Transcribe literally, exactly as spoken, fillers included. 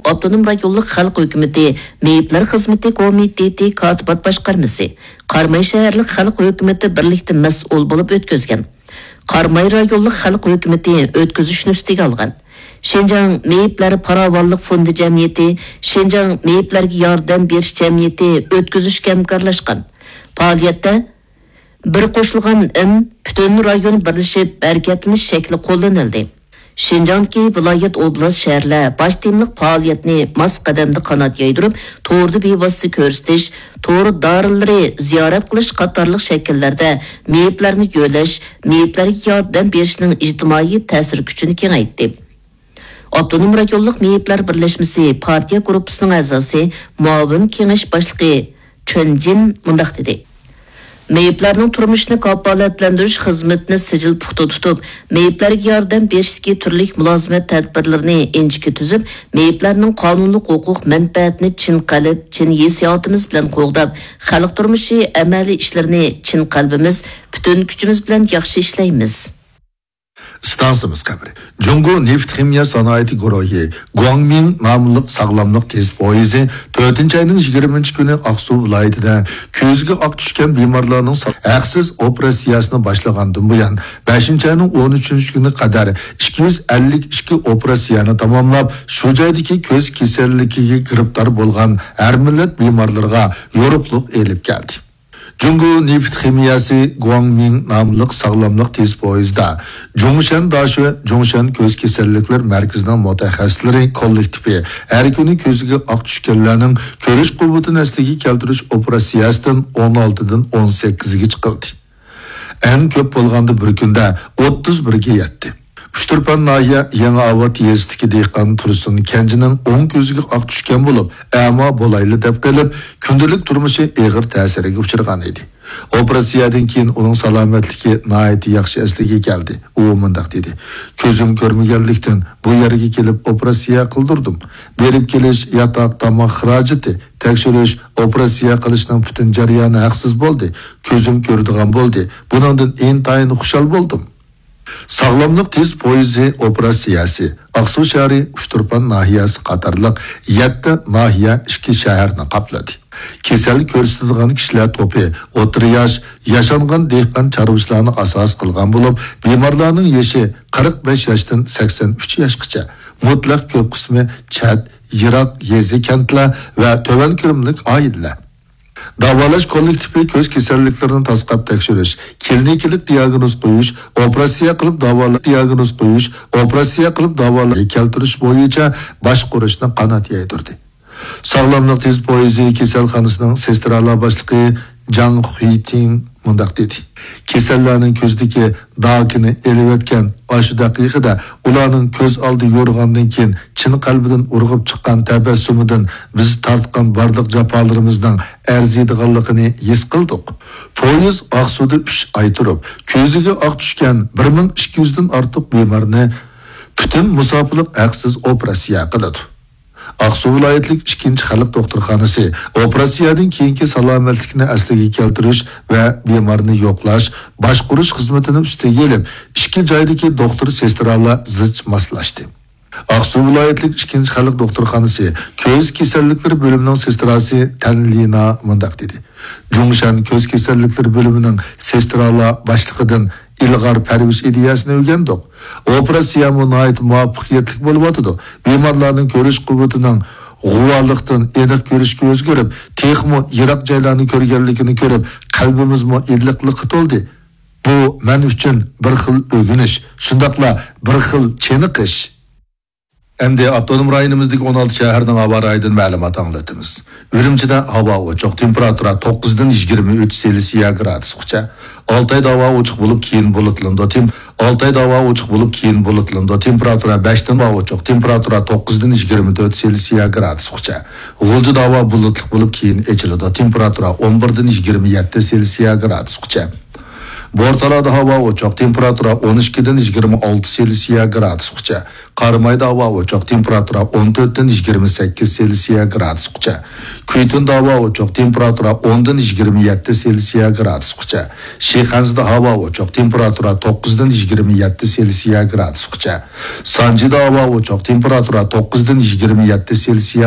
ئاپتونوم رايونلۇق خەلق ھۆكۈمىتى مېيىپلەر خىزمىتى كومىتېتى كاتىبات باشقارمىسى، قاراماي شەھەرلىك خەلق ھۆكۈمىتى بىرلىكتە مەسئۇل بولۇپ ئۆتكۈزگەن. قاراماي رايونلۇق خەلق ھۆكۈمىتى ئۆتكۈزۈشنى ئۈستىگە ئالغان. شىنجاڭ مېيىپلەر پاراۋانلىق فوندى جەمئىيىتى، شىنجاڭ مېيىپلەرگە ياردەم بېرىش جەمئىيىتى ئۆتكۈزۈشكە ھەمكارلاشقان. پائالىيەتتە بىر قوشۇلغان ئىن پۈتۈن رايون بىرلىشىپ ھەرىكەتلىنىش شەكلى قوللىنىلدى. شىنجاڭدىكى ۋىلايەت، ئوبلاست، شەھەرلەر باش تېمىلىق پائالىيەتنى ماس قەدەمدە قانات يايدۇرۇپ، توردا بىۋاسىتە كۆرسىتىش، تور دارىلىرى زىيارەت قىلىش قاتارلىق شەكىللەردە مېيىپلەرنى يۆلەش، مېيىپلەرگە ياردەم بېرىشنىڭ ئىجتىمائىي تەسىر كۈچىنى كېڭەيتتى. ئاپتونوم رايونلۇق مېيىپلەر بىرلەشمىسى پارتىيە گۇرۇپپىسىنىڭ ئەزاسى، مۇئاۋىن كېڭەش باشلىقى چۈەن جىن مۇنداق دېدى: مېيىپلەرنىڭ تۇرمۇشىنى كاپالەتلەندۈرۈش خىزمىتىنى سىجىل پۇختا تۇتۇپ، مېيىپلەرگە ياردەم بېرىشتىكى تۈرلۈك مۇلازىمەت تەدبىرلىرىنى ئىنچىكە تۈزۈپ، مېيىپلەرنىڭ قانۇنلۇق ھوقۇق مەنپەئەتىنى چىن قەلب، چىن ھېسسىياتىمىز بىلەن قوغداپ، خەلق تۇرمۇشى ئەمەلىي ئىشلىرىنى چىن قەلبىمىز، پۈتۈن كۈچىمىز بىلەن ياخشى ئىشلەيمىز. ئىستانسىمىز خەۋىرى. جۇڭگو نېفىت خىمىيە سانائىتى گۇرۇھى گۇاڭمىڭ ناملىق ساغلاملىق تېز پويىزى تۆتىنچى ئاينىڭ يىگىرمىنچى كۈنى ئاقسۇ ۋىلايىتىدە كۆزىگە ئاق چۈشكەن بىمارلارنىڭ سا-، ھەقسىز ئوپېراتسىيەسىنى باشلىغاندىن بۇيان، بەشىنچى ئاينىڭ ئون ئۈچىنچى كۈنى قەدەر ئىككى يۈز ئەللىك ئىككى ئوپېراتسىيەنى تاماملاپ، شۇ جايدىكى كۆز كېسەللىكىگە گىرىپتار بولغان ھەر مىللەت بىمارلىرىغا يورۇقلۇق ئېلىپ كەلدى. جۇڭگو نېفىت خىمىيەسى گۇاڭمىڭ ناملىق ساغلاملىق تېز پويىزىدا جۇڭشەن داشۆ جۇڭشەن كۆز كېسەللىكلەر مەركىزىنىڭ مۇتەخەسسىسلىرى كوللېكتىپى ھەر كۈنى كۆزىگە ئاق چۈشكەنلەرنىڭ كۆرۈش قۇۋۋىتىنى ئەسلىگە كەلتۈرۈش ئوپېراتسىيەسىدىن ئون ئالتىدىن ئون سەككىزگە چىقىلدى. ئەڭ كۆپ بولغاندا بىر كۈندە ئوتتۇز بىرگە يەتتى. ئۇچتۇرپان ناھىيە يېڭى ئاۋات يېزىسىدىكى دېھقان تۇرسۇن كەنجىنىڭ ئوڭ كۆزىگە ئاق چۈشكەن بولۇپ، ئەما بولايلى دەپ قېلىپ، كۈندىلىك تۇرمۇشى ئېغىر تەسىرگە ئۇچرىغان ئىدى. ئوپېراتسىيەدىن كېيىن ئۇنىڭ سالامەتلىكى ناھايىتى ياخشى ئەسلىگە كەلدى. ئۇ مۇنداق دېدى: كۆزۈم كۆرمىگەنلىكتىن، بۇ يەرگە كېلىپ ئوپېراتسىيە قىلدۇردۇم. بېرىپ كېلىش، ياتاق، تاماق خىراجىتى، تەكشۈرۈش، ئوپېراتسىيە قىلىشنىڭ پۈتۈن جەريانى ھەقسىز بولدى. كۆزۈم كۆرىدىغان بولدى. بۇنىڭدىن ئىنتايىن خۇشال بولدۇم. ساغلاملىق تېز پويىزى ئوپېراتسىيەسى ئاقسۇ شەھىرى، ئۇچتۇرپان ناھىيەسى قاتارلىق يەتتە ناھىيە، ئىككى شەھەرنى قاپلىدى. كېسەل كۆرسىتىدىغان كىشىلەر توپى ئوتتۇرا ياش، ياشانغان دېھقان چارۋىچىلارنى ئاساس قىلغان بولۇپ، بىمارلارنىڭ يېشى قىرىق بەش ياشتىن سەكسەن ئۈچ ياشقىچە، مۇتلەق كۆپ قىسمى چەت، يىراق يېزا، كەنتلەر ۋە تۆۋەن كىرىملىك ئائىلىلەر. داۋالاش كوللېكتىپى كۆز كېسەللىكلىرىنى تاسقاپ تەكشۈرۈش، كلىنىكىلىق دىياگنوز قويۇش، ئوپېراتسىيە قىلىپ داۋالاش، دىياگنوز قويۇش، ئوپېراتسىيە قىلىپ داۋالاش كەلتۈرۈش بويىچە باشقۇرۇشنى قانات يايدۇردى. ساغلاملىق تېز پويىزى كېسەلخانىسىنىڭ سېسترالار باشلىقى جاڭ خۇيتىڭ مۇنداق دېدى: كېسەللەرنىڭ كۆزىدىكى داكىنى ئېلىۋەتكەن ئاشۇ دەقىقىدە ئۇلارنىڭ كۆز ئالدى يورۇغاندىن كېيىن چىن قەلبىدىن ئۇرغۇپ چىققان تەبەسسۇمىدىن بىز تارتقان بارلىق جاپالىرىمىزنىڭ ئەرزىيدىغانلىقىنى ھېس قىلدۇق. پويىز ئاقسۇدا ئۈچ ئاي تۇرۇپ، كۆزىگە ئاق چۈشكەن بىر مىڭ ئىككى يۈزدىن ئارتۇق بىمارنى پۈتۈن مۇساپىلىق ھەقسىز ئوپېراتسىيە قىلىدۇ. ئاقسۇ ۋىلايەتلىك ئىككىنچى خەلق دوختۇرخانىسى ئوپېراتسىيەدىن كېيىنكى سالامەتلىكنى ئەسلىگە كەلتۈرۈش ۋە بىمارنى يوقلاش، باشقۇرۇش خىزمىتىنى ئۈستىگە ئېلىپ، ئىككى جايدىكى دوختۇر سېسترالار زىچ ماسلاشتى. ئاقسۇ ۋىلايەتلىك ئىككىنچى خەلق دوختۇرخانىسى كۆز كېسەللىكلىرى بۆلۈمىنىڭ سېستراسى تەن لىنا مۇنداق دېدى: جۇڭشەن كۆز كېسەللىكلىرى بۆلۈمىنىڭ سېسترالار باشلىقىدىن ئىلغار پەرۋىش ئىدىيەسىنى ئۆگەندۇق. ئوپېراتسىيەمۇ ناھايىتى مۇۋەپپەقىيەتلىك بولۇۋاتىدۇ. بىمارلارنىڭ كۆرۈش قۇۋۋىتىنىڭ غۇۋالىقتىن ئېنىق كۆرۈشكە ئۆزگىرىپ، تېخىمۇ يىراق جايلارنى كۆرگەنلىكىنى كۆرۈپ، قەلبىمىزمۇ ئىللىقلىققا تولدى. بۇ مەن ئۈچۈن بىر خىل ئۆگىنىش، شۇنداقلا بىر خىل چېنىقىش. ئەمدى ئاپتونوم رايونىمىزدىكى ئون ئالتە شەھەرنىڭ ھاۋا رايىدىن مەلۇمات ئاڭلىتىمىز. ئۈرۈمچىدە ھاۋا ئوچۇق، تېمپېراتۇرا توققۇزدىن يىگىرمە ئۈچ سېلسىيە گرادۇسقىچە. ئالتايدا ھاۋا ئوچۇق بولۇپ، كېيىن بۇلۇتلىنىدۇ. تېم-، ئالتايدا ھاۋا ئوچۇق بولۇپ، كېيىن بۇلۇتلىنىدۇ. تېمپېراتۇرا بەشتىن ھاۋا ئوچۇق، تېمپېراتۇرا توققۇزدىن يىگىرمە تۆت سېلسىيە گرادۇسقىچە. غۇلجىدا ھاۋا بۇلۇتلۇق بولۇپ، كېيىن ئېچىلىدۇ. تېمپېراتۇرا ئون بىردىن يىگىرمە يەتتە سېلسىيە گرادۇسقىچە. بورتالادا ھاۋا ئوچۇق، تېمپېراتۇرا ئون ئىككىدىن يىگىرمە ئالتە سېلسىيە گرادۇسقىچە. قارامايدا ھاۋا ئوچۇق، تېمپېراتۇرا ئون تۆتتىن يىگىرمە سەككىز سېلسىيە گرادۇسقىچە. كۈيتۇندا ھاۋا ئوچۇق، تېمپېراتۇرا ئوندىن يىگىرمە يەتتە سېلسىيە گرادۇسقىچە. شىخەنزىدە ھاۋا ئوچۇق، تېمپېراتۇرا توققۇزدىن يىگىرمە يەتتە سېلسىيە گرادۇسقىچە. سانجىدا ھاۋا ئوچۇق، تېمپېراتۇرا توققۇزدىن يىگىرمە يەتتە سېلسىيە